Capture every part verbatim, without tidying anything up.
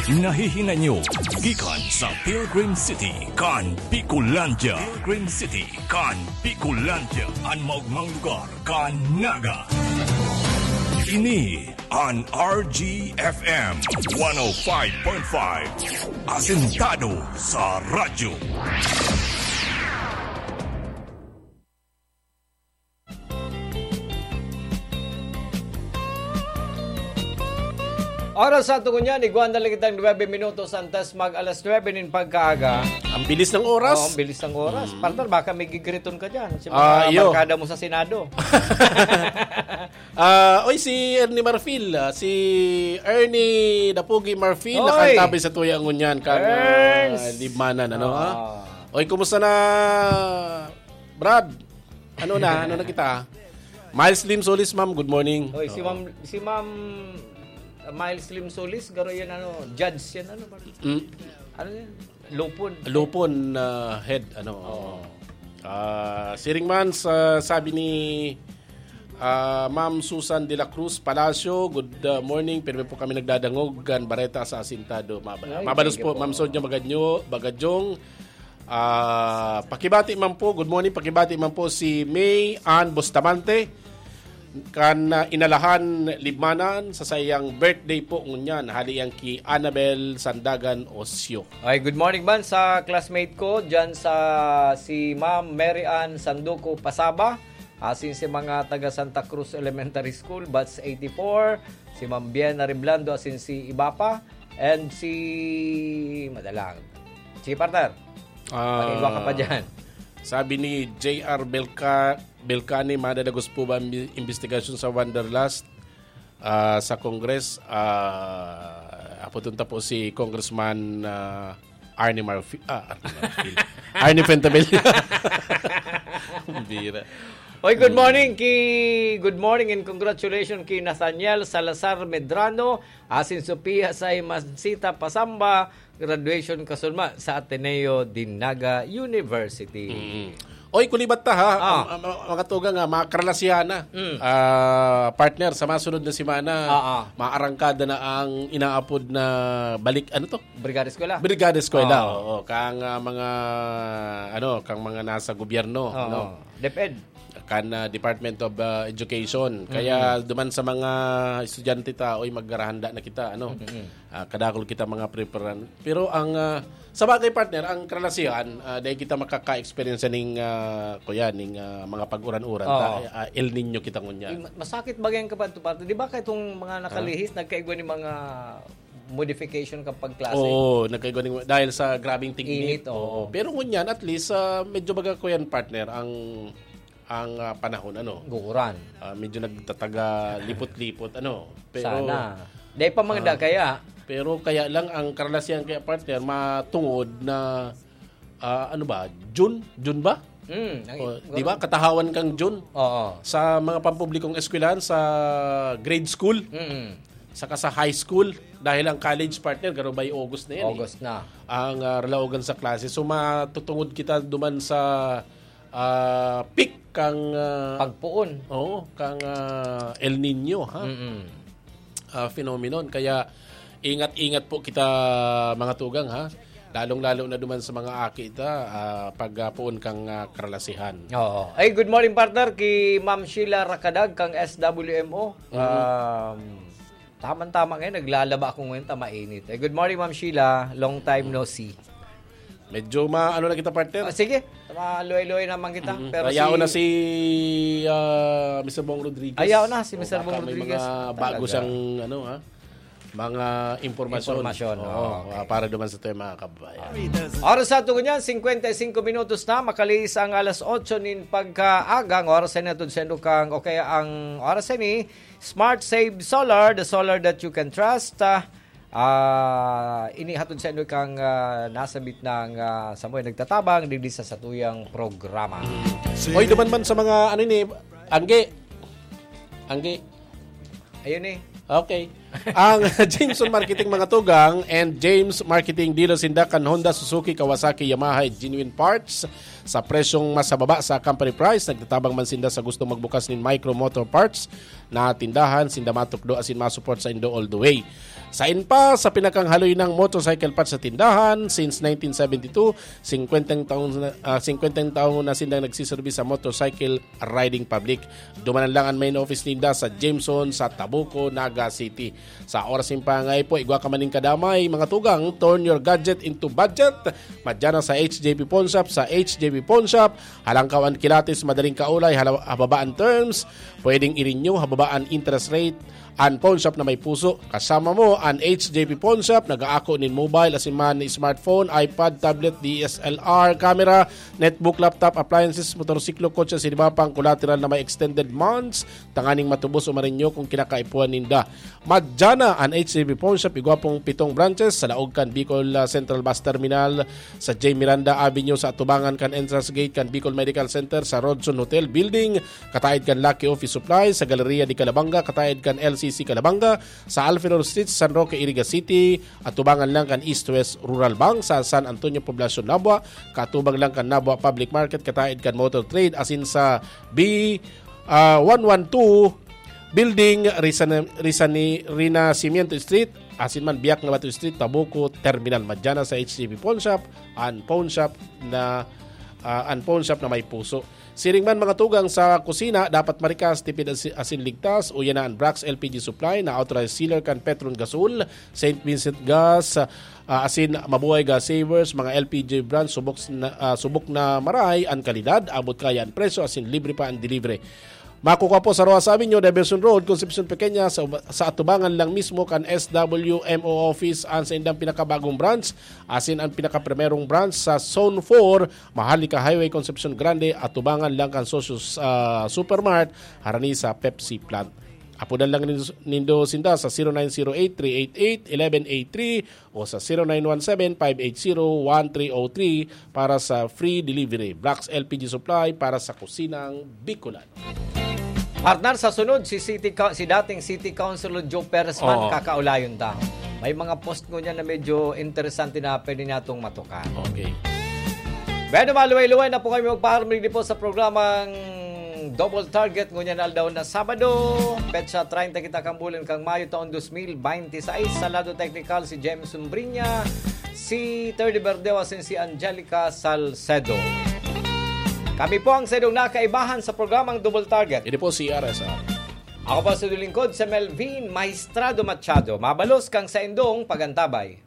Nahihinay nyo gikan sa Pilgrim City kan Bicolandia. Pilgrim City kan Bicolandia, an maogmang lugar kan Naga. Ini an R G F M one oh five point five, asentado sa radyo. Oras sa ato ngunyan, igwa na lang kitang nuebe minutos antes mag alas nuebe nin pagkaaga. Ang bilis ng oras. Oo, ang bilis ng oras. Mm. Partner, baka may gigriton ka dyan. Si mga Ah, iyo. barkada mo sa Senado. Ah, oy, si Ernie Marfil, ah, si Ernie Dapugi Marfil, Oy! nakantabi sa tuya ngunyan, kang, ah, Ernst! libmanan, ano, ha? Ah. Oy, kumusta na, Brad? Ano na? Ano na kita? Miles Lim Solis, ma'am. Good morning. Oy, si Oo. Ma'am, si Ma'am Miles Lim Solis, garo yan, ano, judge yan, ano, Mm. ano yan? Lupon. Lupon, ah, head, ano. Oo. Oo. Ah, siring man sa sabi ni, ah, Ma'am Susan de la Cruz Palacio, good, ah, morning. Pirmi po kami nagdadangog kan bareta sa Asintado. Mabala-, Ay, mabalos thank you po, po. Ma'am Sonia Magadnyo, Bagadyong. Ah, pakibati man po, good morning, pakibati man po si May Ann Bustamante, kan, ah, Inalahan, Libmanan, sa saiyang birthday po ngunyan, hali yan ki Annabel Sandagan Osio. Ay, good morning man sa classmate ko, dyan sa si Ma'am Mary Ann Sanduco Pasaba, asin si mga taga Santa Cruz Elementary School, batch eighty-four, si Ma'am Bien Ariblando, asin si Ibapa, and si Madalang. Sige, partner. Ah, Pakigwa ka pa dyan. Sabi ni J R Belca-, Belcani, madadagos po ba ang bi-, investigasyon sa Wanderlust, ah, sa Congress? Ah, apoton ta po si Congressman, ah, Arnie Marfi-, ah, Arnie Marfil. Arnie Fentabella. Bira. Oy, good Hmm. morning ki, good morning and congratulations ki Nathaniel Salazar Medrano, asin Sofia Saimansita Pasamba, graduation kasunma sa Ateneo de Naga University. Mm. Oy, kulibat ta, ha? Ah. Ang, ang, ang mga tugang, ha, mga karalasihan na. Mm. Ah, partner, sa masunod na semana, Ah, ah. maarangkada na ang inaapod na balik, ano to? Brigada Eskwela. Brigada Eskwela, Ah. oo. Kang, ah, mga, ano, kang mga nasa gobyerno, Oo. no? DepEd. Kan, ah, Department of, ah, Education. Kaya Mm. duman sa mga estudyante ta, oy, magarahanda na kita, ano? Mm-mm. Ah, kadakul kita mga preparan. Pero ang, ah, sa bagay, partner, ang karalasihan, ah, dahil kita makaka-experience ning, ah, kuya, ning, ah, mga pag-uran-uran, Oo. ta, ah, El Niño kita ngunyan. Yung ma-, masakit bagay ang kapadto-padto. Di ba, kahit itong mga Ha? nakalihis, nagkaigwa ni mga modification kang pagklase? Oo, nagkaigwa ni, dahil sa grabing tignit. Init, oo. Oo. Pero ngunyan, at least, ah, medyo baga ko yan, partner, ang, ang, ah, panahon, ano? Guuran. Ah, medyo nagtataga lipot-lipot, ano? Pero, Sana. Dahil pa mga ah, da kaya? Pero kaya lang, ang karalasihan kaya, partner, matungod na, ah, ano ba? June? June ba? Mm, ay, O, di ba? ganun. Katahawan kang June. Oo. Sa mga pampublikong eskwelahan, sa grade school, Mm. saka sa high school, dahil ang college, partner, garo by August na yan, eh. August na. Ang, ah, ralaogan sa klase. So, matutungod kita duman sa, ah, peak kang, ah, Pagpuon. Oo, kang, ah, El Niño, ha? Mm-mm. Ah, phenomenon. Kaya, ingat-ingat po kita, mga tugang, ha? Lalong-lalo na duman sa mga aki ta, ah, pag, ah, poon kang, ah, karalasihan. Oo. Ay, good morning, partner, ki Ma'am Sheila Rakadag, kang S W M O. Mm. Um, tamang-tama ngayon, naglalaba ako ngayon, ta mainit. Eh, good morning, Ma'am Sheila. Long time no see. Medyo ma-, ano na kita, partner? Ah, sige, maluhay-luhay naman kita. Mm. Pero Ayaw si na si, ah, Mister Bong Rodriguez. Ayaw na si Mister Baka Bong may Rodriguez. mga bago Talaga. siyang, ano, ha? Mga impormasyon. Impormasyon, Oo, oo, okay. ah, para duman sa tayo, mga kababayan. Oras sa ato ngunyan, cincuenta y cinco minutos na, makalihis ang alas otso nin pagkaaga. Ang oras na hatod saindo kang, o kaya ang oras na ni Smart Save Solar, the solar that you can trust. Ah, ah, ini hatod saindo kang, ah, nasabit ng, ah, samoy nagtatabang digdi sa satuyang programa. Oy, duman man sa mga, ano ni, Angge. Angge. Ayun eh. Okay. Ang Jameson Marketing, mga tugang, and James Marketing, dealer sinda kan Honda, Suzuki, Kawasaki, Yamaha, Genuine Parts sa presyong mas mababa sa company price. Nagtatabang man sinda sa gustong magbukas nin micro motor parts na tindahan, sinda matukdo asin ma-support sa indo all the way. Sain pa sa pinakang haloy ng motorcycle parts sa tindahan, since nineteen seventy-two, singkwentang taon na, ah, singkwentang taon na sindang nagsiserbi sa motorcycle riding public. Dumanan lang an main office ninda sa Jameson, sa Tabuco, Naga City. Sa oras nin pangangaipo, igwa ka man nin kadamay, mga tugang, turn your gadget into budget. Madya na sa H J P Pawn Shop. Sa H J P Pawn Shop, halangkaw an kilatis, madaling kaulay, hala-, hababa an terms, pwedeng i-renew, hababa an interest rate. An pawn shop na may puso, kasama mo. An H J P Pawn Shop, nag-aako nin mobile, asin man smartphone, iPad, tablet, D S L R camera, netbook, laptop, appliances, motorsiklo, kotse, asin iba pang collateral na may extended months, tanganing matubos o marenew kung kinakaipuhan ninda. Madya na an H J P Pawn Shop, igwa pong pitong branches sa laog kan Bicol, ah, Central Bus Terminal, sa J Miranda Avenue, sa atubangan kan entrance gate kan Bicol Medical Center, sa Rodson Hotel Building, kataed kan Lucky Office Supply, sa Galleria de Calabanga, kataed kan L C C Calabanga, sa Alfenor Street, San Roque, Iriga City, atubangan lang kan East West Rural Bank, sa San Antonio Poblacion, Nabua, kaatubang lang kan Nabua Public Market, kataed kan Motor Trade, asin sa B, ah, one one two Building, Rizani-, Rizani-, Renacimiento Street, asin man Biak na Bato Street, Tabuco, Terminal. Madya na sa H J P Pawn Shop, an pawn shop na, ah, an pawn shop na may puso. Siring man, mga tugang, sa kusina, dapat marikas, tipid asi-, asin ligtas. Uya na an Brax L P G Supply na authorized sealer kan Petron Gasol, Saint Vincent Gas, ah, asin Mabuhay Gas Savers, mga L P G brand, subok s-, na, ah, subok na maray an kalidad, abot kaya an presyo, asin libre pa an delivery. Makukua po sa Roxas Avenue, Diversion Road, Concepcion Pequeña, sa uba-, sa atubangan lang mismo kan S W M O office an saindang pinakabagong branch, asin an pinakaprimerong branch sa Zone four, Maharlika Highway, Concepcion Grande, atubangan lang kan Socios, ah, Supermart, harani sa Pepsi plant. Apodan lang nindo, nindo sinda sa zero nine zero eight, three eight eight, eleven eight three o sa zero nine one seven, five eight zero, one three oh three para sa free delivery. Brax L P G Supply para sa kusinang Bicolan. Partner, sa sunod, si City Coun-, si dating City Councilor Joe Perez man, Oo. kakaulayon ta. May mga post ngunyan na medyo interesante na pwede natong matukan. Okay. Bueno, maluway-luway na po kami magpaharmig po sa programang Double Target ngunyan na aldaw na Sabado, petsa treinta kita kan bulan kan Mayo taon dos mil bente seis. Sa lado teknikal, si James Umbriña, si Terdy Verdeo, asin si Angelica Salcedo. Kami po ang saindong nakaibahan sa programang Double Target. Ini po si R S R. Ako po sa lingkod, si Melvin Maestrado Machado. Mabalos kang saindong pagantabay.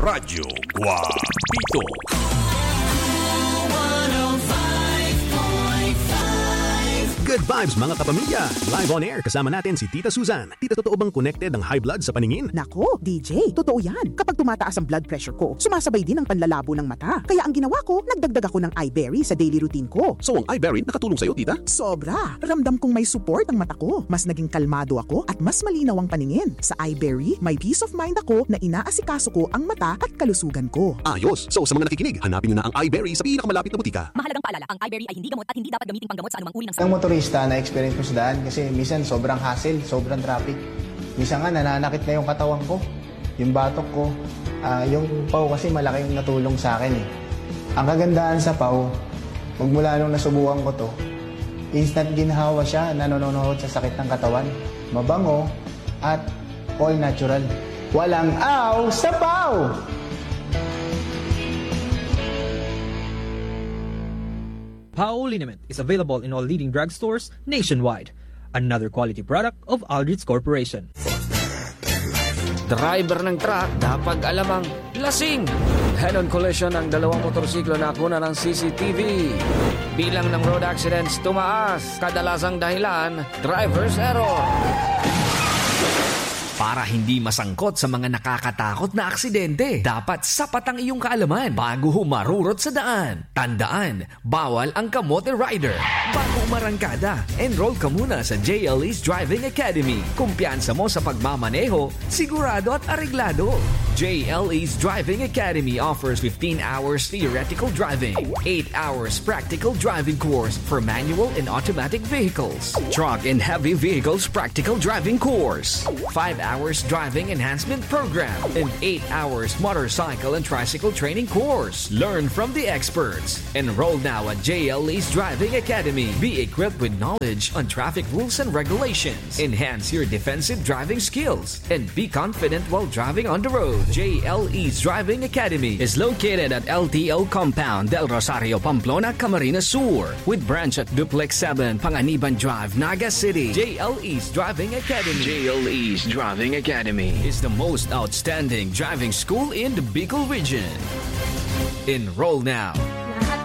Radyo Guapito. Good vibes, mga kapamilya! Live on air, kasama natin si Tita Susan. Tita, totoo bang connected ang high blood sa paningin? Nako, D J, totoo yan. Kapag tumataas ang blood pressure ko, sumasabay din ang panlalabo ng mata. Kaya ang ginawa ko, nagdagdag ako ng Eyeberry sa daily routine ko. So, ang Eyeberry nakatulong sa'yo, tita? Sobra! Ramdam kong may support ang mata ko. Mas naging kalmado ako at mas malinaw ang paningin. Sa Eyeberry, may peace of mind ako na inaasikaso ko ang mata at kalusugan ko. Ayos! So, sa mga nakikinig, hanapin nyo na ang Eyeberry sa pinakamalapit na butika. Mahalagang paalala, ang Eyeberry ay hindi gamot at hindi dapat gamiting panggamot sa anumang uri ng sakit. Ang motorista na experience ko sa daan kasi minsan sobrang hassle, sobrang traffic. Minsan nga nananakit na yung katawan ko, yung batok ko. Ah, yung pau kasi malaki yung natulong sa akin eh. Ang kagandahan sa pau, magmula nung nasubukan ko to, instant ginhawa siya, nanononohod sa sakit ng katawan. Mabango at all natural. Walang aw sa pau! Pau liniment is available in all leading drugstores nationwide. Another quality product of Aldrich Corporation. Driver ng truck, dapat alam ang lasing. Head-on collision ng dalawang motorsiklo na kunan ng C C T V. Bilang ng road accidents tumaas, kadalasang dahilan, driver's error. Para hindi masangkot sa mga nakakatakot na aksidente, dapat sapat ang iyong kaalaman bago humarurot sa daan. Tandaan, bawal ang kamote rider. Bago umarangkada, enroll ka muna sa J L E's Driving Academy. Kumpiyansa mo sa pagmamaneho, sigurado at areglado. J L E's Driving Academy offers fifteen hours theoretical driving, eight hours practical driving course for manual and automatic vehicles, truck and heavy vehicles practical driving course, five hours driving enhancement program, and eight hours motorcycle and tricycle training course. Learn from the experts. Enroll now at J L E's Driving Academy. Be equipped with knowledge on traffic rules and regulations. Enhance your defensive driving skills and be confident while driving on the road. J L E's Driving Academy is located at L T O Compound, Del Rosario, Pamplona, Camarines Sur, with branch at Duplex seven, Panganiban Drive, Naga City. J L E's Driving Academy. J L E's Driving Academy is the most outstanding driving school in the Bicol region. Enroll now.